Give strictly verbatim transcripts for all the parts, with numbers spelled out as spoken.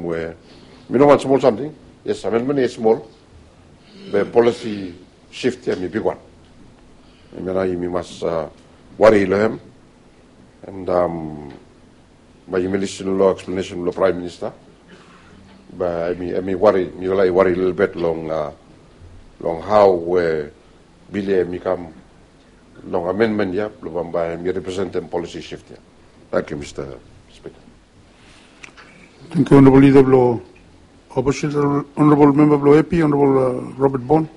We mi no wan smol samting. Yes, amendment ya i smol. Be policy shift ya hemi bigwan. Hemia nao yumi mas wari long hem. And bae yumi lisin long eksplanesen blong Praem Minista. Bae hemi wari, mifala i wari lelebet long long hao we bil ya hemi kam long amendment ya blong bambae hemi representem policy shift ya. Tangkiu Mista Spika. Tangkiu Honorabol Lida blong Opposition, Honorabol Memba blong Epi, Honorabol Robert Bond.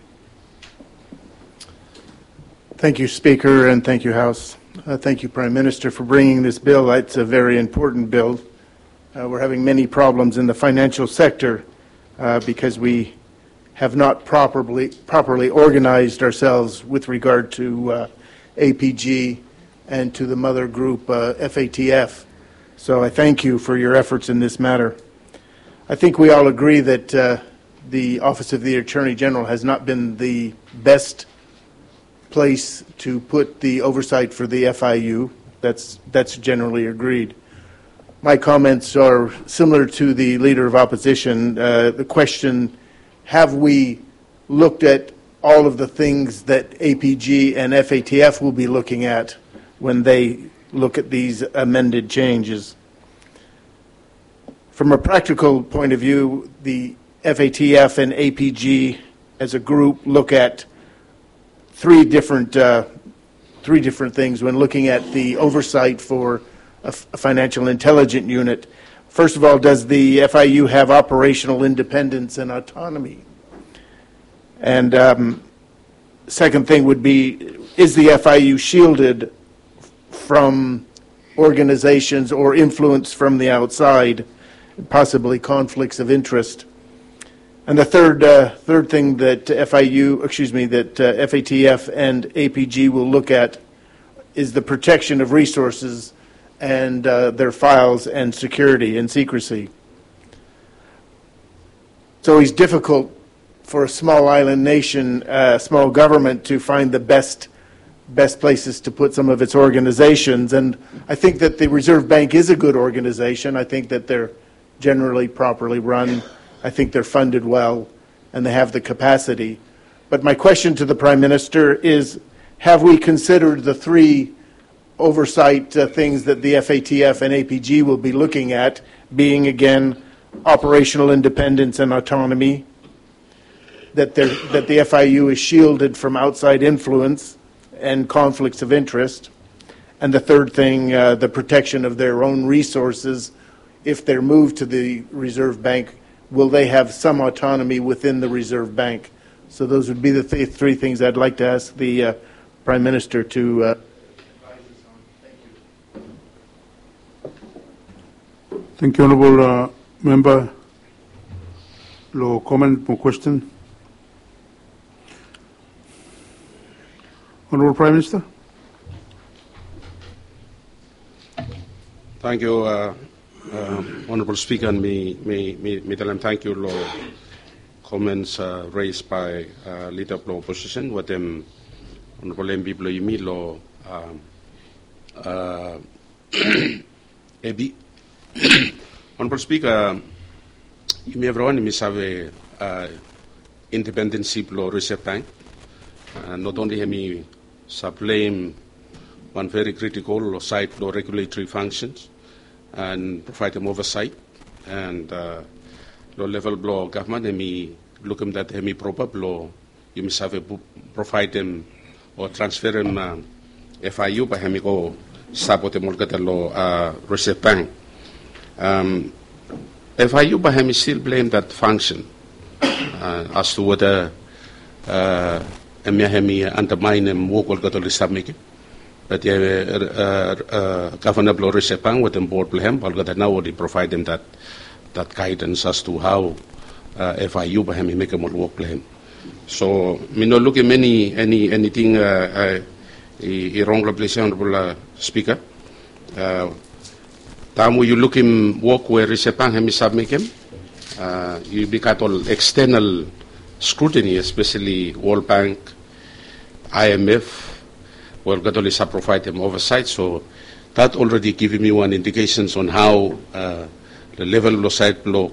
Thank you, Speaker, and thank you, House. Uh, thank you, Prime Minister, for bringing this bill. It's a very important bill. Uh, we're having many problems in the financial sector uh, because we have not properly, properly organized ourselves with regard to uh, A P G and to the mother group uh, F A T F. So I thank you for your efforts in this matter. I think we all agree that uh, the Office of the Attorney General has not been the best place to put the oversight for the F I U. That's, that's generally agreed. My comments are similar to the Leader of Opposition. Uh, the question, have we looked at all of the things that A P G and F A T F will be looking at when they look at these amended changes? From a practical point of view, the F A T F and A P G as a group look at three different uh, three different things when looking at the oversight for a, f- a financial intelligence unit. First of all, does the F I U have operational independence and autonomy? And um, second thing would be, is the F I U shielded from organizations or influence from the outside, possibly conflicts of interest? And the third, uh, third thing that F I U, excuse me, that uh, F A T F and A P G will look at is the protection of resources and uh, their files and security and secrecy. It's always difficult for a small island nation, a uh, small government, to find the best best places to put some of its organizations. And I think that the Reserve Bank is a good organization. I think that they're generally properly run. I think they're funded well, and they have the capacity. But my question to the Prime Minister is, have we considered the three oversight uh, things that the F A T F and A P G will be looking at, being again operational independence and autonomy, that, that the F I U is shielded from outside influence and conflicts of interest, and the third thing, uh, the protection of their own resources. If they're moved to the Reserve Bank, will they have some autonomy within the Reserve Bank? So those would be the th- three things I'd like to ask the uh, Prime Minister to. Uh, Thank you, Honorable uh, Member. Lo comment mo question. Honorable Prime Minister. Thank you, uh, uh, Honorable Speaker, and mi, mi, mi, mi tell him thank you lo comments uh, raised by uh, leader of opposition with them, Honorable M P Bloyimi lo um, uh, A B. Honorable Speaker, yumi evriwan yumi save uh, independensi blo Reserve Bank. Uh, not only hemi supplyim wan very critical lo side blo regulatory functions and providem oversight and uh, lo level blo gavman hemi lukim dat hemi proper blo yumi save providem o transferem F I U bae hemi go sapotem olgeta lo Reserve Bank. F I U bae hemi still playim dat function as to weda hemia hemi andamaenem wok olgeta oli stap mekem. Bat ia gavana blo Reserve Bank wetem bod blo hem bae olgeta nao oli provaedem dat dat gaedans as to hao F I U bae hemi mekem ol wok blo hem. So mi no lukim eni eni eniting i rong long ples ia, Honorable Speaker. Taem we yu lukim wok we Reserve Bank hemi stap mekem, yumi gat ol external scrutiny, especially World Bank, I M F, we olgeta oli stap provaedem oversight. So that already givim mi wan indications on how the level blo saed blo